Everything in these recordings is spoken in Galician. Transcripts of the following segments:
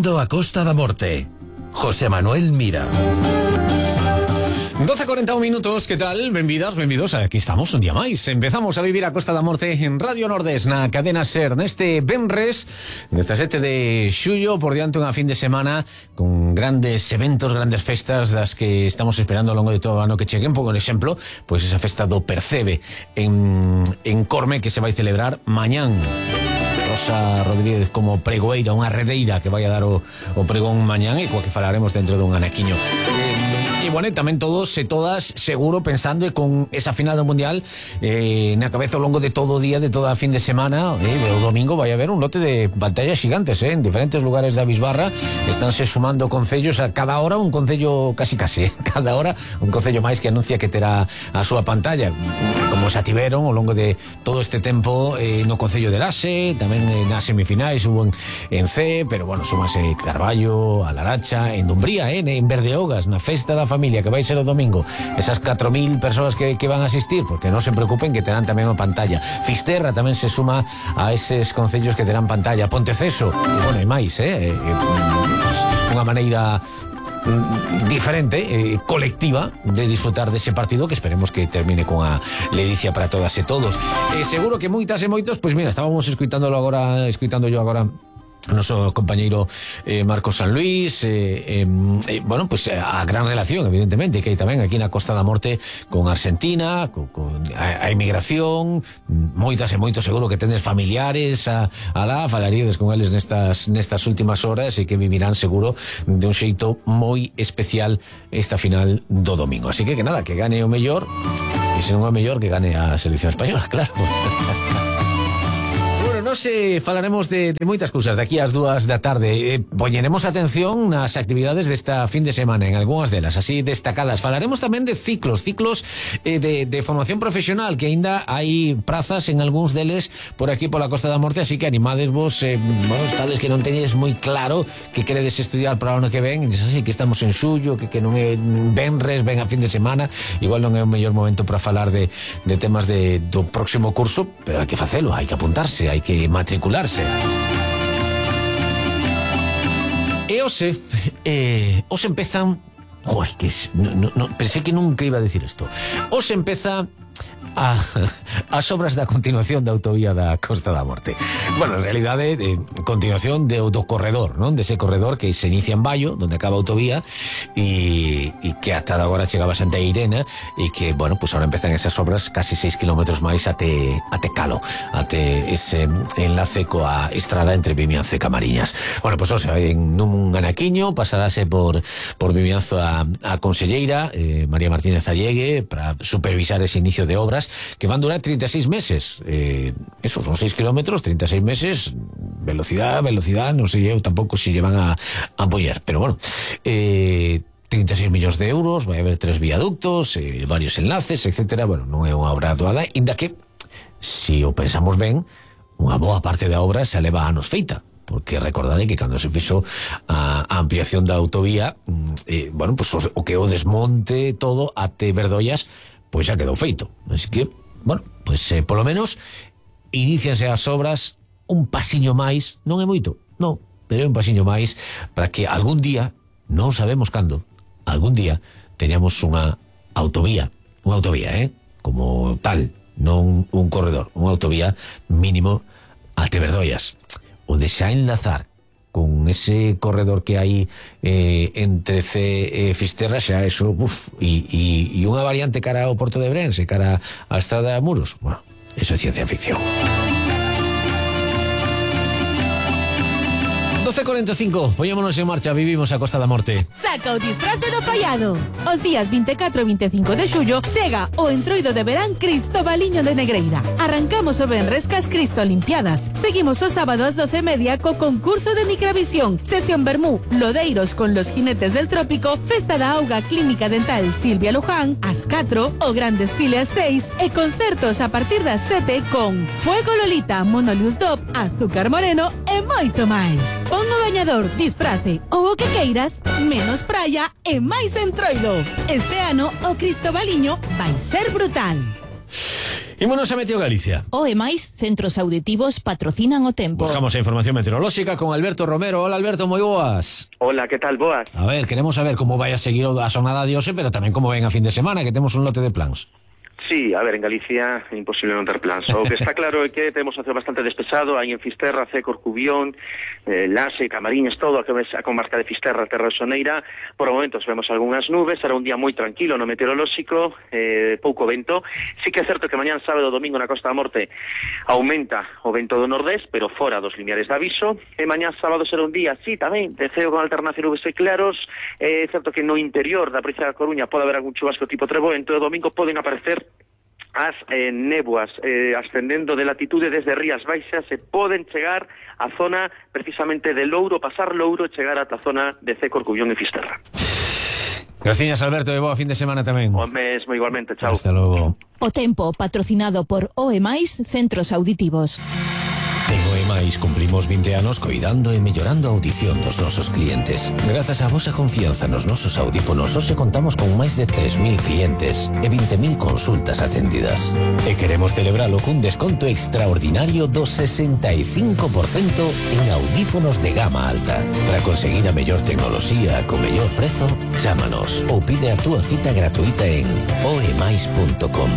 Vivindo a Costa da Morte. José Manuel Mira. 12:41 minutos, que tal? Benvidas, benvidos, aquí estamos un día máis. Empezamos a vivir a Costa da Morte en Radio Nordés, na cadena SER, neste venres, nesta 7 de xullo, por diante unha fin de semana con grandes eventos, grandes festas das que estamos esperando ao longo de todo o ano que cheguen. Por exemplo, pois esa festa do Percebe en Corme, que se vai celebrar mañán. Rosa Rodríguez como pregoeira, unha redeira que vai a dar o pregón mañán e coa que falaremos dentro dun anaquiño. E bueno, tamén todos e todas seguro pensando e con esa final do Mundial na cabeza ao longo de todo o día, de toda a fin de semana, o domingo vai haber un lote de pantallas gigantes en diferentes lugares da Bisbarra. Estánse sumando concellos, a cada hora un concello casi cada hora un concello máis que anuncia que terá a súa pantalla, como xa tiveron ao longo de todo este tempo no concello de Laxe, tamén nas semifinais hubo en C, pero bueno, súmase Carballo, a Laracha, en Dumbría, en Berdeogas, na festa da familia que vai ser o domingo, esas 4.000 persoas que van a asistir, porque non se preocupen que terán tamén a pantalla. Fisterra tamén se suma a eses concellos que terán pantalla. Ponteceso, e bueno, e máis, unha maneira diferente, colectiva de disfrutar dese partido que esperemos que termine con a ledicia para todas e todos. Seguro que moitas e moitos, pois mira, estábamos escuitando yo agora o noso compañeiro Marcos San Luis, bueno, pues a gran relación evidentemente que hai tamén aquí na Costa da Morte con Argentina, con a emigración, moitas e moitos seguro que tendes familiares alá, falaríades con eles nestas últimas horas e que vivirán seguro de un xeito moi especial esta final do domingo. Así que nada, que gane o mellor, e se non é o mellor que gane a selección española, claro. Nos falaremos de moitas cousas de aquí ás 2 da tarde. Poñeremos atención nas actividades desta fin de semana, en algunhas delas así destacadas. Falaremos tamén de ciclos de formación profesional, que aínda hai prazas en algúns deles por aquí pola Costa da Morte, así que animadesvos, bueno, estades que non teñes moi claro que queredes estudiar para o ano que ven, así que estamos en xullo, que non é venres, ven a fin de semana, igual non é o mellor momento para falar de temas do próximo curso, pero hai que facelo, hai que apuntarse, hai que matricularse. E os empezan, pensé que nunca iba a decir isto. Os empeza as obras da continuación da autovía da Costa da Morte. Bueno, en realidade continuación do corredor, non? Dese corredor que se inicia en Baio, donde acaba a autovía, e que ata agora chegaba a Santa Irene, e que, bueno, pues ahora empezan esas obras casi 6 kilómetros máis até Calo, até ese enlace coa estrada entre Vimianzo e Camariñas. Bueno, pues en un anaquiño pasaráse por Vimianzo a conselleira María Martínez Allegue para supervisar ese inicio de obras que van a durar 36 meses. Esos son 6 kilómetros, 36 meses, velocidad, non sei eu tampouco se llevan a apoyar, pero bueno, 36 millóns de euros, vai haber 3 viaductos, varios enlaces, etcétera. Bueno, non é unha obra doada, inda que, se o pensamos ben, unha boa parte da obra se leva anos feita, porque recordade que cando se fixo a ampliación da autovía, bueno, pues o que o desmonte todo até Verdollas, pois xa quedou feito. Así que, bueno, pois polo menos inicianse as obras un pasiño máis, non é moito, non, pero é un pasiño máis para que algún día, non sabemos cando, algún día teñamos unha autovía, como tal, non un corredor, unha autovía mínimo até Verdollas, o de xa enlazar con ese corredor que hai entre C e Fisterra, xa eso, e unha variante cara ao Porto de Brense, cara á Estrada de Muros. Bueno, eso é ciencia ficción. 12:45, poñémonos en marcha, vivimos a Costa da Morte. Saca o disfrace do paiado. Os días 24 e 25 de xullo chega o entroido de verán Cristobaliño de Negreira. Arrancamos o venres cas Cristo Olimpiadas. Seguimos o sábado ás 12:30 co concurso de Micravisión, sesión Bermú, lodeiros con los jinetes del trópico, festa da auga Clínica Dental Silvia Luján, ás 4, o gran desfile ás 6 e concertos a partir das 7 con Fuego Lolita, Monolius Dop, Azúcar Moreno e moito máis. Pon o bañador, disfrace ou o que queiras, menos praia e máis entroido. Este ano o Cristobaliño vai ser brutal. Ímonos a Meteo Galicia. O e máis centros auditivos patrocinan o tempo. Buscamos a información meteorolóxica con Alberto Romero. Hola, Alberto, moi boas. Hola, que tal, boas? A ver, queremos saber como vai a seguir a xornada de hoxe, pero tamén como ven a fin de semana, que temos un lote de plans. Sí, a ver, en Galicia é imposible non ter plans. O que está claro é que temos a ceo bastante despexado, hai en Fisterra, C, Corcubión, Lase, Camariñas, todo a comarca de Fisterra, Terra de Soneira. Por momentos vemos algunhas nubes, será un día moi tranquilo no meteorolóxico, pouco vento. Sí que é certo que mañán sábado e domingo na Costa da Morte aumenta o vento do nordés, pero fora dos limiares de aviso. E mañán sábado será un día, sí, tamén, de ceo con alternancia nubes e claros. É certo que no interior da provincia da Coruña pode haber algún chubasco tipo treboento, e o domingo poden aparecer as néboas ascendendo de latitude desde Rías Baixas e poden chegar á zona precisamente de Louro, pasar Louro e chegar ata a zona de C, Corcubión e Fisterra. Gracias, Alberto, e boa fin de semana tamén. O mesmo igualmente, chao. Hasta logo. O tempo patrocinado por O e máis centros auditivos. En OEMAIS cumplimos 20 anos coidando e mellorando a audición dos nosos clientes. Grazas á vosa confianza nos nosos audífonos, hoxe contamos con máis de 3.000 clientes e 20.000 consultas atendidas. E queremos celebralo cun desconto extraordinario do 65% en audífonos de gama alta. Para conseguir a mellor tecnoloxía co mellor prezo, chámanos ou pide a túa cita gratuita en oemais.com.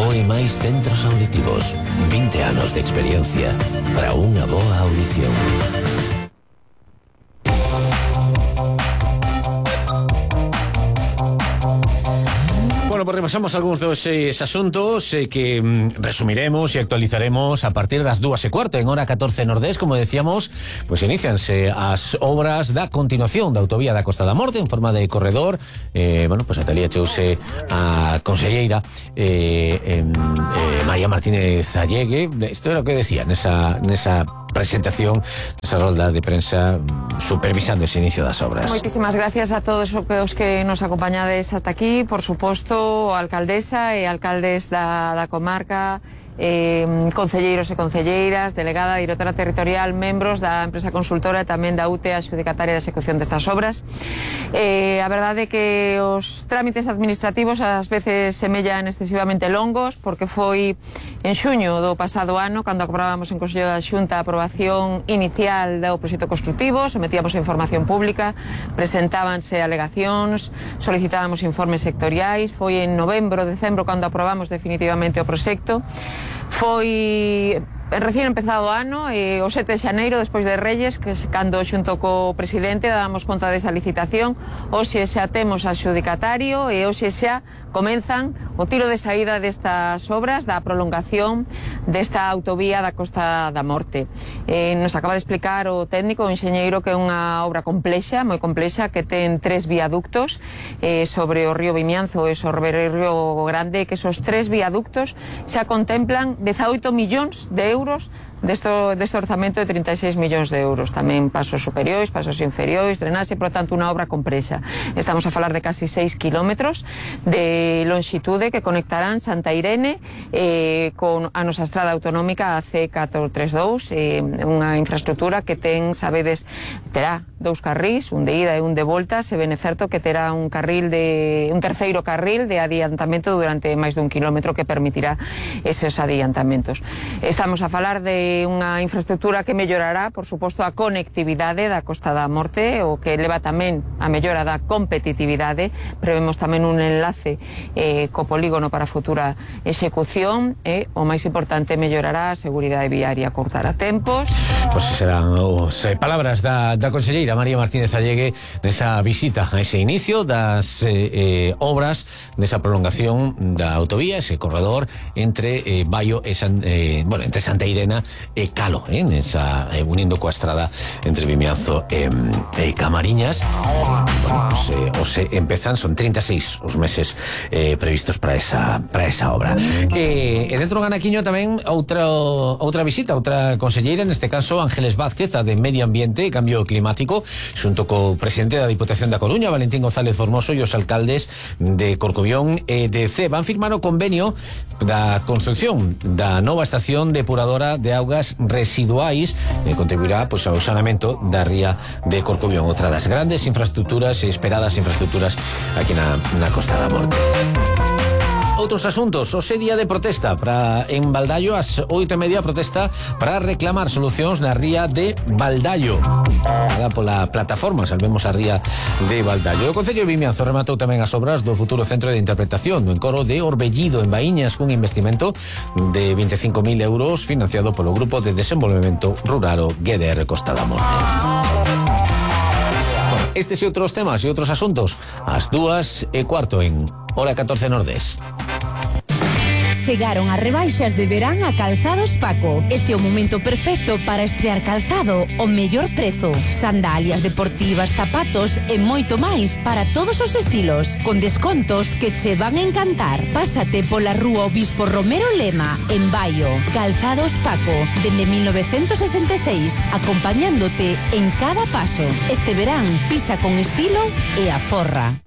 OEMAIS Centros Auditivos. 20 anos de experiencia para unha boa audición. Bueno, pues repasamos algúns dos asuntos que resumiremos e actualizaremos a partir das 2:15 en hora 14 Nordés. Como decíamos, pues inicianse as obras da continuación da autovía da Costa da Morte en forma de corredor. Bueno, pues Natalia cheuse a conselleira María Martínez Allegue. Isto era o que decía nesa presentación, esa rolda de prensa supervisando ese inicio das obras. Moitísimas gracias a todos os que nos acompañades hasta aquí, por suposto, a alcaldesa e alcaldes da comarca, concelleiros e concelleiras, delegada, directora territorial, membros da empresa consultora e tamén da UTE, a xudicataria de execución destas obras. A verdade é que os trámites administrativos ás veces semellan excesivamente longos, porque foi en xuño do pasado ano cando aprobábamos en Consello da Xunta a aprobación inicial do proxecto construtivo, sometíamos a información pública, presentábanse alegacións, solicitábamos informes sectoriais. Foi en novembro, decembro cando aprobamos definitivamente o proxecto. Foi recién empezado o ano, o 7 de xaneiro, despois de Reyes, que cando xunto co presidente dábamos conta desa licitación. Hoxe xa temos a xudicatario e hoxe xa comenzan o tiro de saída destas obras da prolongación desta autovía da Costa da Morte. Nos acaba de explicar o técnico, o enxeñeiro, que é unha obra complexa, moi complexa, que ten 3 viaductos sobre o río Vimianzo e sobre o río Grande, que esos 3 viaductos xa contemplan 18 millóns de euros deste orzamento de 36 millóns de euros. Tamén pasos superiores, pasos inferiores, drenaxe, por tanto, unha obra complexa. Estamos a falar de casi 6 kilómetros de longitude que conectarán Santa Irene con a nosa estrada autonómica, a C432, unha infraestructura que ten, sabedes, terá 2 carrís, un de ida e un de volta. Se ven certo que terá un terceiro carril de adiantamento durante máis dun kilómetro que permitirá eses adiantamentos. Estamos a falar de unha infraestructura que mellorará, por suposto, a conectividade da Costa da Morte, o que leva tamén a mellora da competitividade. Prevemos tamén un enlace co polígono para futura execución e, o máis importante, mellorará a seguridade viaria, cortará tempos. Pois serán as palabras da conselleira María Martínez Allegue nesa visita a ese inicio das obras desa prolongación da autovía, ese corredor entre Baio e entre Santa Irene e Calo, unindo coa estrada entre Vimianzo e Camariñas. Bueno, pues, empezan, son 36 os meses previstos para esa obra. E dentro do anaquiño tamén outra visita, outra conselleira, neste caso Ángeles Vázquez, a de Medio Ambiente e Cambio Climático, xunto co presidente da Diputación da Coruña, Valentín González Formoso, e os alcaldes de Corcubión e de C. Van firmar o convenio da construcción da nova estación depuradora de augas residuais que contribuirá pois ao sanamento da ría de Corcubión, outra das grandes infraestructuras, esperadas infraestructuras aquí na Costa da Morte. Outros asuntos, hoxe día de protesta en Baldallo, ás 8:30 protesta para reclamar solucións na ría de Baldallo. Pola plataforma Salvemos a ría de Baldallo. O Concello de Vimianzo rematou tamén as obras do futuro centro de interpretación do encoro de Orbellido en Baíñas, cun investimento de 25.000 euros financiado polo Grupo de Desenvolvemento Rural GDR Costa da Morte. Estes e outros temas e outros asuntos ás 2:15 en Hora 14 Nordés. Chegaron as rebaixas de verán a Calzados Paco. Este é o momento perfecto para estrear calzado ao mellor prezo. Sandalias deportivas, zapatos e moito máis para todos os estilos, con descontos que che van a encantar. Pásate pola rúa Obispo Romero Lema, en Baio. Calzados Paco, dende 1966, acompañándote en cada paso. Este verán, pisa con estilo e aforra.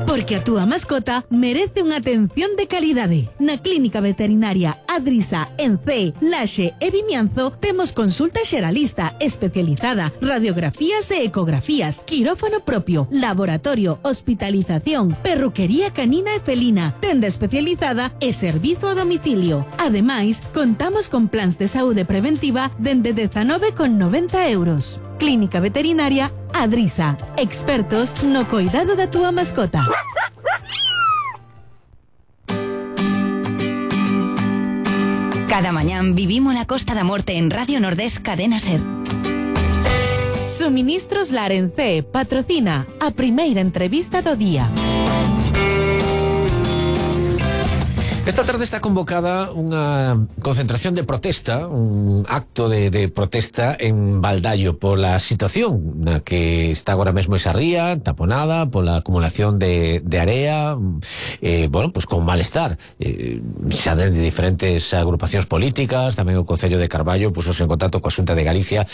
Porque a túa mascota merece unha atención de calidade. Na Clínica Veterinaria Adrisa, en Cee, Laxe e Vimianzo temos consulta xeralista especializada, radiografías e ecografías, quirófano propio, laboratorio, hospitalización, perruquería canina e felina, tenda especializada e servizo a domicilio. Ademais, contamos con plans de saúde preventiva dende 19,90 euros. Clínica Veterinaria Adrisa, expertos no cuidado da túa mascota. Cada mañán vivimos la Costa da Morte en Radio Nordés Cadena Ser. Suministros Larencé patrocina a primeira entrevista do día. Esta tarde está convocada unha concentración de protesta, un acto de protesta en Baldallo pola situación na que está agora mesmo esa ría taponada pola acumulación de area, bueno, pues con malestar xa de diferentes agrupacións políticas. Tamén o Concello de Carballo puxose en contacto coa Xunta de Galicia